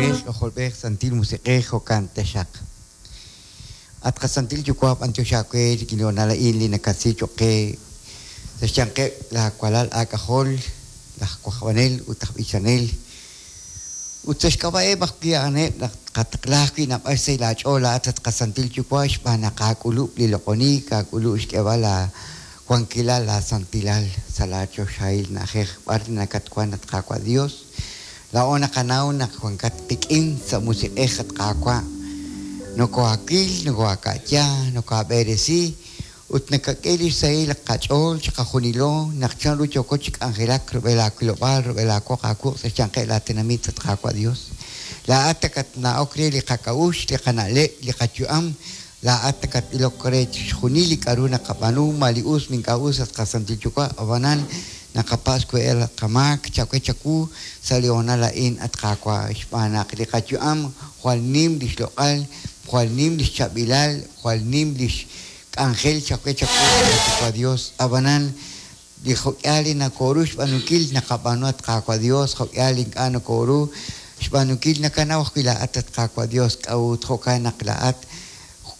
Yuwa'b'ej, K'ajolb'ej, Santil Musiq'ej, jo'kan taxaq. At qaSantil Yuwa', b'antiox aawe rik'in li hoonal a'in li nakasi choq' qe sa' xyanqeb' laa walal aak'ajol, laj wajb'anel ut aj b'ichanel. Ut sa' xk'ab'a'eb' ajwi' a'aneb' naq tqataqla ajwi' naab'al xsahil aach'ool laa'at at qaSantil Yuwa' xb'aan naq aak'ulub' li loq'oniik, aak'ulub' xk'eeb'al laa wankilal, laa santilal sa' laa choxahil na'ajej b'ar nakatwan, at Qaawa' Dios. Laa'o naqanaw naq wankat qik'in sa' musiq'ej, at Qaawa'. Nokohaawil, nokohaaka'ya, nokohaab'eresi, ut nakak'e lix sahil qach'ool chiqajunilo naq chanru yooko chi k'anjelak rub'el aawilob'aal, rub'el aawoq aawuq' sa' xyanqeb' laa tenamit, at Qaawa' Dios. Laa'at nakatna'ok re li qak'a'uxl, li qana'leb', li qayu'am. Laa'at nakat'ilok re chixjunil li k'a'ru naqab'aanu, ma li us ma ink'a' us, at qaSantil Yuwa'. Ab'anan, naqapatz' xkuyb'al qamaak chawe chawu sa' li hoonal a'in, at Qaawa', xb'aan naq li qayu'am jwal nim lix loq'al, jwal nim lix chaab'ilal, jwal nim lix k'anjel chawe chawu, at Yuwa' Dios. Ab'anan, li jo'k'ihal li nokoru xb'aanunkil naqab'aanu, at Qaawa' Dios, jo'k'ihal li ink'a' nokoru xb'aanunkil nakanaw ajwi' laa'at, at Qaawa' Dios, k'a'ut jo'kan naq laa'at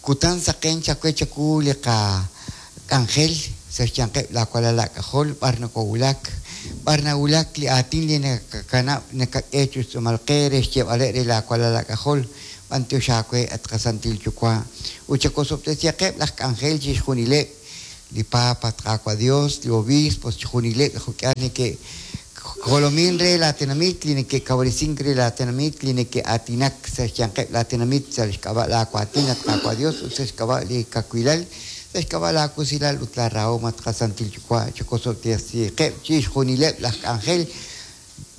kutan saqen chawe chawu li qak'anjel sa' xyanqeb' laa walal aak'ajol, b'ar nokowulak, b'ar nawulak li aatin li nakakanab' nakak'e chi xtz'uumal qe re xyeeb'aleb' re laa walal aak'ajol, b'antiox aawe, at qaSantil Yuwa', ut chawosob'tesihaqeb' laj k'anjel chixjunileb', li Papa, at Qaawa' Dios, li obispos, chixjunileb' li jo'k'ihal neke'jolomin re laa tenamit, li neke'kawresink re laa tenamit, li neke'aatinak sa' xyanqeb' laa tenamit sa' xk'ab'a' laa waatin, at Qaawa' Dios, ut sa' xk'ab'a' li kawilal, sa' xk'ab'a' laa wusilal ut laa rahom, at qaSantil Yuwa', chawosob'tesihaqeb' chixjunileb' laj k'anjel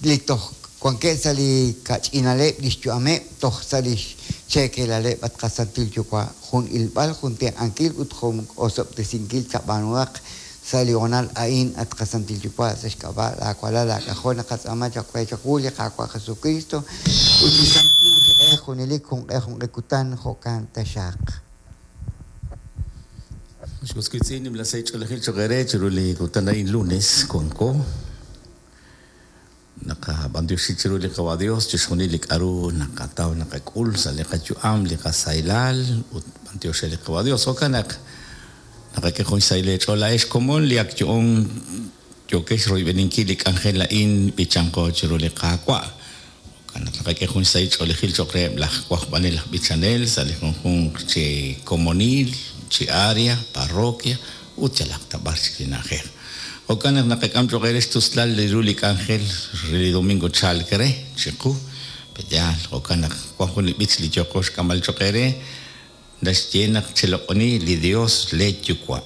li toj wankeb' sa' li kach'inaleb' lix yu'ameb' toj sa' lix cheekelaleb', at qaSantil Yuwa', jun ilb'al, jun tenq'ankil ut jun osob'tesinkil chab'aanuhaq sa' li hoonal a'in, at qaSantil Yuwa', sa' xk'ab'a' laa walal aak'ajol naqatz'aama chaq we chawu li Qaawa' Jesukristo ut li Santil Musiq'ej junelik junq'e junq'e kutan, jo'kan taxaq. Ex was wiitz'in, nimla sahil ch'oolejil choq' eere chiru li kutan a'in lunes wanko. Naqab'antioxi chiru li Qawa' Dios chixjunil li k'a'ru naqataw naqak'ul sa' li qayu'am, li qasahilal, ut b'antiox re li Qawa' Dios. Jo'kan naq naqak'e jun xsahil eech'ool laa'ex komon li ak yo'on yookex royb'eninkil li k'anjel a'in b'ichanqo chiru li Qaawa'. Jo'kan naq naqak'e jun xsahil ch'oolejil cho'q reheb' laj wajb'anel aj b'ichanel sa' li junjunq chi komonil, chi area, parroquia, ut yalaq ta b'ar chik li na'ajej. Jo'kan naq naqak'am cho'q eere xtuslal li ru li k'anjel re li domingo chalk re chiqu. Pe'yaal? Jo'kan naq wan jun li b'ich li yooqo xk'amb'al cho'q eere naxye naq cheloq'oni li Dios lee Yuwa'.